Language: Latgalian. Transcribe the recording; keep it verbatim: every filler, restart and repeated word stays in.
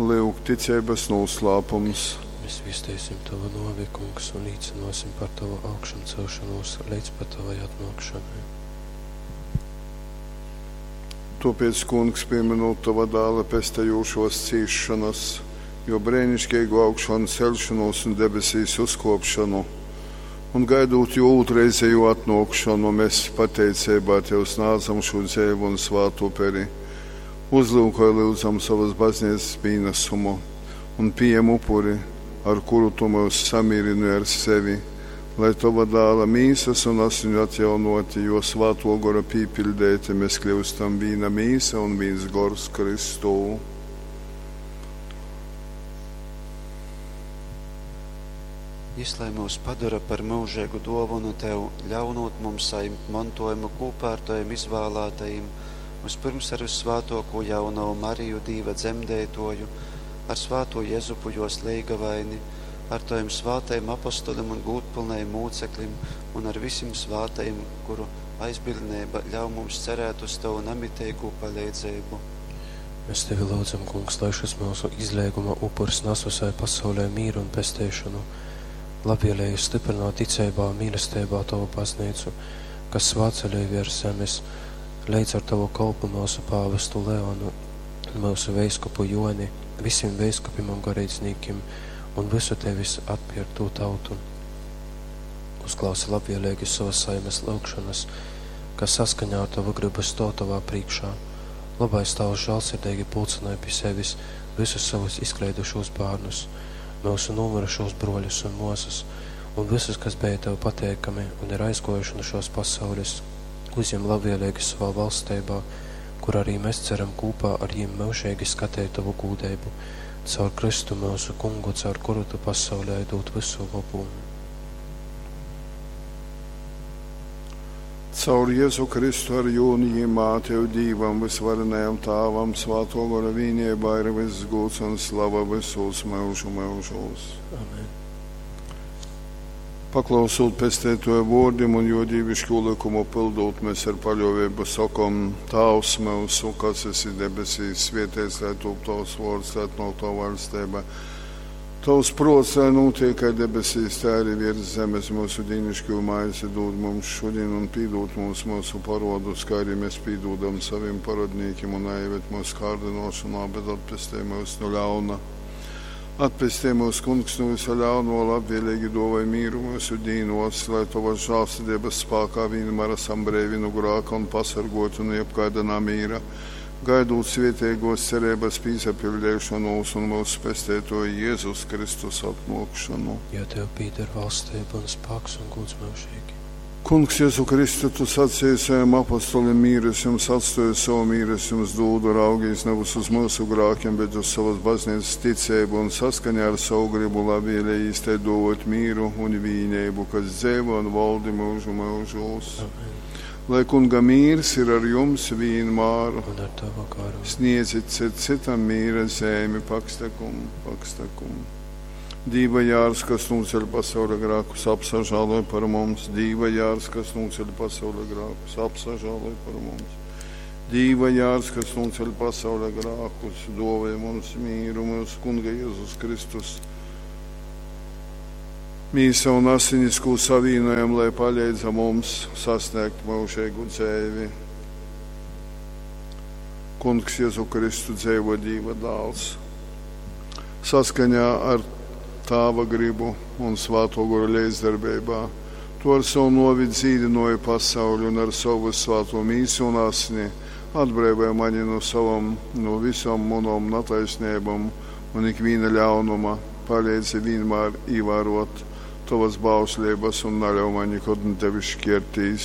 Lyuk, ticeibas nūslāpums. Mēs viesteisim Tavu nōvi, Kungs, un līcynōsim par Tavu augšamcelšonūs leidz pat Tavai atnōkšanai. Tōpēc, Kungs, pīmynūt Tova Dāla pestejūšōs cīsšonas, jō breiniškeigu augšanceļšonūs un debesīs uzkōpšonu, un gaidūt jō ūtrreizejū atnōkšonu, mes pateiceibā Tev snādzam šū dzeivu un svātu uperi. Uzlyukoj, lyudzam, sovas bazneicas pīnasumu un pījem upuri, ar kuru Tu myus samīrynoj ar sevi, lai Tova Dāla mīsas un asiņu atjaunōti, jō Svātō Gora pīpiļdeiti, mēs kļūstam vīna mīsa un vīns gors Kristū. Jys lai myus padora par myužeigu dōvonu Tev, ļaunūt mums sajimt montōjumu kūpā ar Tovim izvālātajim, vyspyrms ar vyssvātōkū jaunovu Mariju, Dīva dzemdeitōju, ar svātū Jezupu, jōs leigavaini, ar Tovim svātajim apostolim un gūdpylnajim mūceklim un ar visim svātajim, kuru aizbildneiba ļauj mums cerēt uz Tovu namiteigū paleidzeibu. Mēs Tevi lyudzam, Kungs, lai šys myusu izleiguma upurs nas visai pasaulei mīru un pesteišonu. Labvēlīgi stiprināt ticeibā un mīlesteibā Tovu baznīcu, kas svātceļoj viers zemes, leidz ar Tavu kolpu myusu pāvestu Leonu un myusu veiskupu Joni, visim veiskupim un goreidznīkim un visu Tevis atpierktū tautu. Uzklausi labvēlīgi savas saimes lyugšanas, kas saskaņā ar Tavu gribu stōv Tavā priekšā. Labais Tavs žālsirdīgi pulcināja pie sevis visus savus izkleidušos bērnus, myusu nomirušos broļus un māsas, un visus, kas bija Tev pateikami un ir aizgojuši no šos pasaules, uzņem labvēlīgi savā valstībā, kur arī mēs ceram kopā ar viņiem mūžīgi skatīt Tavu gūdību, caur Kristu mūsu kungu, caur kuru Tu pasaulē dod visu labu. Caur Jēzu Kristu ar jūni jimā Tev Dīvam, visvarenajam Tāvam, Svāto Gora vīnībā ir viss gūds un slava visos mūžu mūžos. Amen. Paklausot pestētoja vōrdim un jo dīvišķo likumu pildot, mēs ar paļāvību sakom: Tāvs mūsu, kas esi debesīs, svētīts lai top tavs vārds, lai atnāk tava valstība. Tavs prāts, lai notiek kā debesīs, tā arī virs zemes. Mūsu dīnišķo maizi dod mums šodien un pīdot mums mūsu parodus, kā arī mēs pīdodam saviem parodnīkiem un neieved mūsu kārdinošanā, bet atpestī mūs no ļauna. Atpestī mūs, Kungs, no visa ļauno, labvēlīgi dāvāj mīru mūsu dīnos, lai Tavas žēlsirdības spēkā vienmēr esam brīvi no grēka un pasargoti no jebkāda namīra, gaidot svētīgos cerības pīsapildīšanos un mūsu pestētoju Jēzus Kristus atnākšanu. Jo Tev pieder valstība un spēks un gods mūžīgi. Kungs, Jēzu Kristu, Tu sacīji saviem apostolim, mīru es jums atstāju, savu mīru es jums dodu, raugīs nevis uz mūsu grēkiem, bet uz savas baznīcas ticību un saskaņā ar savu gribu labvēlīgi īstai dot mīru un vīnību, kas dzīvo un valdi mūžu mūžos. Amen. Lai Kunga mīrs ir ar jums vienmēr. Un ar Tavu garu. Sniedzit cit citam mīra zemi, pakstakum, pakstakum. Dīva jārs, kas nūceļ pasaules grēkus, apsažāloj par mums. Dīva jārs, kas nūceļ pasaules grēkus, apsažāloj par mums. Dīva jārs, kas nūceļ pasaules grēkus, dāvāj mums mīru, mūsu Kunga Jēzus Kristus. Mīsa un asinis, ko savienojam, lai palīdza mums sasniegt mūžīgu dzīvi. Kungs Jēzu Kristu dzīvo Dīva dāls. Saskaņā ar Tāva gribu un Svāto Gora līdzdarbībā, Tu ar savu novi dzīdināji pasauli un ar savu svāto mīsu un asni atbrīvoji mani no savam, no visām manām netaisnībām un ikviena ļaunuma. Palīdzi vienmēr ievērot Tavas bauslības un neļauj man nekad no Tevis šķirtīs.